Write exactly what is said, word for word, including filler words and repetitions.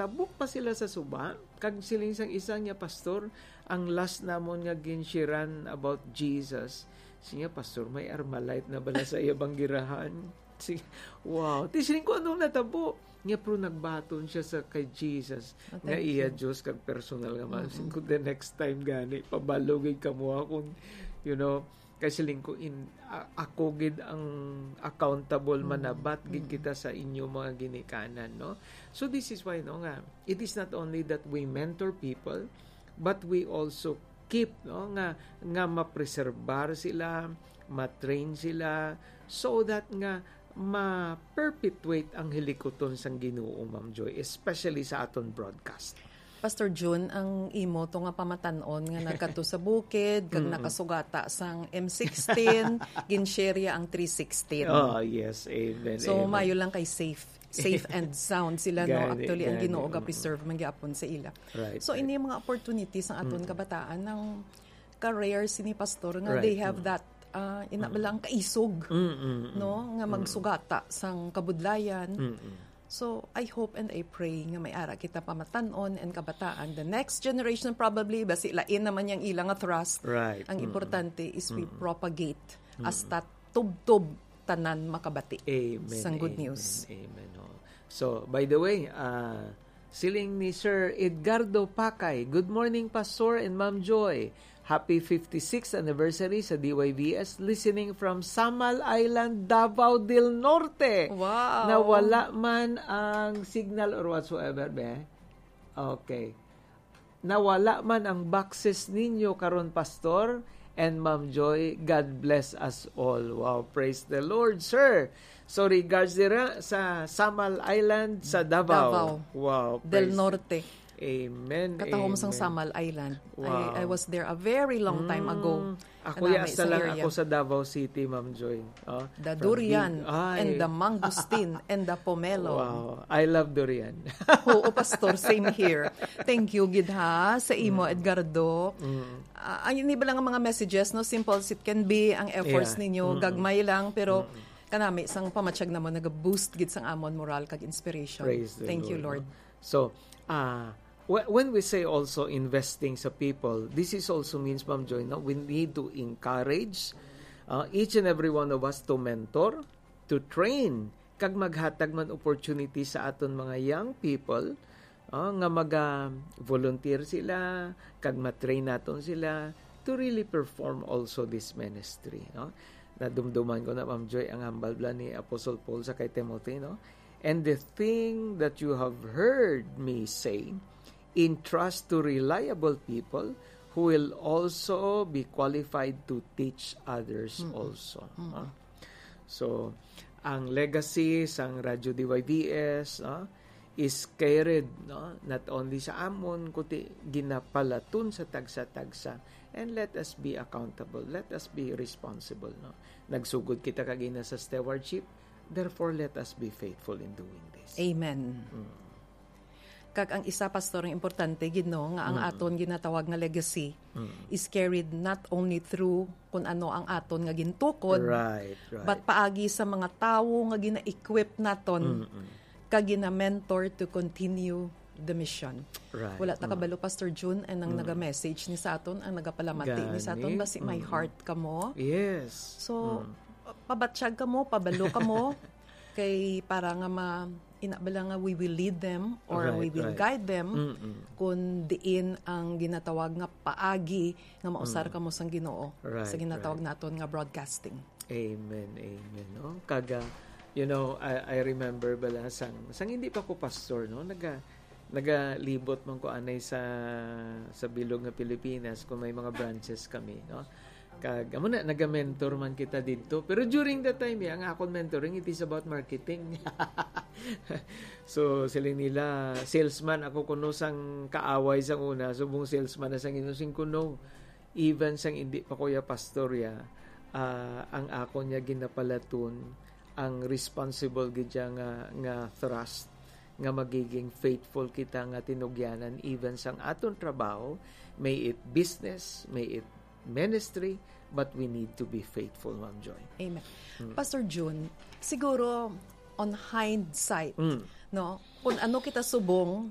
Tabok pa sila sa suba, kag siling sang isa niya, "Pastor, ang last namon nga ginshiran about Jesus." Siya, "Pastor, may Armalite na bala sa iya banggirahan?" Si, wow. Ti siling ko, "Anong natabo?" Niya, pero nagbaton siya sa kay Jesus, Oh, nga thank iya you. Diyos kag personal nga man. Mm-mm. Siling ko, "The next time gani, pabalo gid kamo akong, you know, kay siling ko, in, a-, ako gid ang accountable, Mm. manabat gid Mm. kita sa inyo mga ginikanan, no?" So this is why, no, nga, it is not only that we mentor people, but we also keep, no, nga, nga mapreserbar sila, matrain sila, so that nga ma-perpetuate ang hilikuton sang Ginoo, Ma'am Joy, especially sa aton broadcast. Pastor Jun, ang imo to nga pamatan-on nga nagkadto sa bukid, kag Mm-mm. nakasugata sang M sixteen, ginshare ang three sixteen. Oh, yes. Amen. So, Amen. mayo lang kay safe. Safe and sound sila, no? Gani, Actually, ang gani. Ginoo Mm-mm. ga-preserve man gyapon sa ila. Right, So, right. ini mga opportunities ang aton Mm-mm. kabataan, nang ka-rare sini, Pastor, nga Right. they have Mm-mm. that, ah, ina Mm-mm. lang kaisog, Mm-mm. no? Nga Mm-mm. magsugata sang kabudlayan. Mm-mm. So, I hope and I pray nga may ara kita pamatan-on and kabataan. The next generation probably, basi lain naman yang ila nga thrust. Right. Ang Mm-mm. importante is we Mm-mm. propagate Mm-mm. hasta tubtob tanan makabati Amen. sang good Amen. news. Amen. Oh. So, by the way, uh, siling ni Sir Edgardo Pakay, "Good morning, Pastor and Ma'am Joy. Happy fifty-sixth anniversary sa D Y V S. Listening from Samal Island, Davao del Norte." Wow. Nawala man ang signal or whatsoever, be. Okay. Nawala man ang boxes ninyo karon, Pastor and Ma'am Joy. God bless us all. Wow, praise the Lord, sir. So, regards dira sa Samal Island sa Davao. Davao. Wow, Del praise Norte. Amen. Katahom sang Amen. Samal Island. Wow. I, I was there a very long time ago. Mm. Ako, Kanami ya, sa sa lang area. ako sa Davao City, Ma'am Joy. Oh, The from durian Big-, ay. and the mangosteen and the pomelo. Wow. I love durian. Oo, Pastor. Same here. Thank you, gid ha, sa imo, Mm. Edgardo. Mm. Ah, ay, ini ba lang ang mga messages, no? Simple as it can be, ang efforts Yeah. ninyo, Mm-mm. gagmay lang, pero Mm-mm. kanami, sang pamatyag naman, nag-boost gid sang amon moral kag inspiration. Praise the Thank you, Lord, Lord. So, ah, wh-, when we say also investing sa people, this is also means, Ma'am Joy, no? We need to encourage, ah, each and every one of us to mentor, to train, kag maghatag man opportunity sa aton mga young people, ah, nga maga-volunteer sila, kag ma-train naton sila to really perform also this ministry, no? Nadumduman ko na, Ma'am Joy, ang hambal bala ni Apostle Paul sa kay Timothy, no? "And the thing that you have heard me say, entrust to reliable people who will also be qualified to teach others Mm-mm. also." Mm-mm. No? So, ang legacy sang Radyo D Y V S, no, is carried, no, not only sa amon, kundi ginapalaton sa tagsa-tagsa. And let us be accountable. Let us be responsible, no? Nagsugod kita kagina sa stewardship. Therefore, let us be faithful in doing this. Amen. Mm. Kag ang isa, Pastor, ang importante gid, no, nga ang Mm. aton ginatawag nga legacy Mm. is carried not only through kung ano ang aton nga gintukod, Right, right. but paagi sa mga tawo nga gina-equip naton Mm-mm. kag gina-mentor to continue the mission. Right. Wala ta Mm. kabalo, Pastor Jun, and ang Mm. naga-message ni sa aton, ang nagapalamat ni sa aton, Gani. basi may Mm. heart kamo. Yes. So, Mm. pabatyag kamo, pabalo kamo, kay para nga ma-, ina bala nga we will lead them or Right, we will right. guide them Mm-mm. kung diin ang ginatawag nga paagi nga mausar Mm. kamo sang Ginoo Right, sa ginatawag right. naton nga broadcasting. Amen, amen. No? Kag, ah, you know, I, I remember bala sang, sang hindi pa ko pastor, no? Naga-, nagalibot man ko anay sa, sa bilog nga Pilipinas kung may mga branches kami, no? Kag, amo na, naga-mentor man kita didto. Pero during that time, eh, ang akon mentoring, it is about marketing. So, sila nila, salesman ako kuno sang kaaway sang una, subong salesman na sang inusing kuno. Even sang indi pa ko ya pastor ya, ah, ang akon ya ginapalaton, ang responsible gid ya nga, nga thrust, nga magiging faithful kita nga tinugyanan, even sang aton trabaho, may it business, may it ministry, but we need to be faithful, Ma'am Joy. Amen. Mm. Pastor Jun, siguro on hindsight, Mm. no, kung ano kita subong,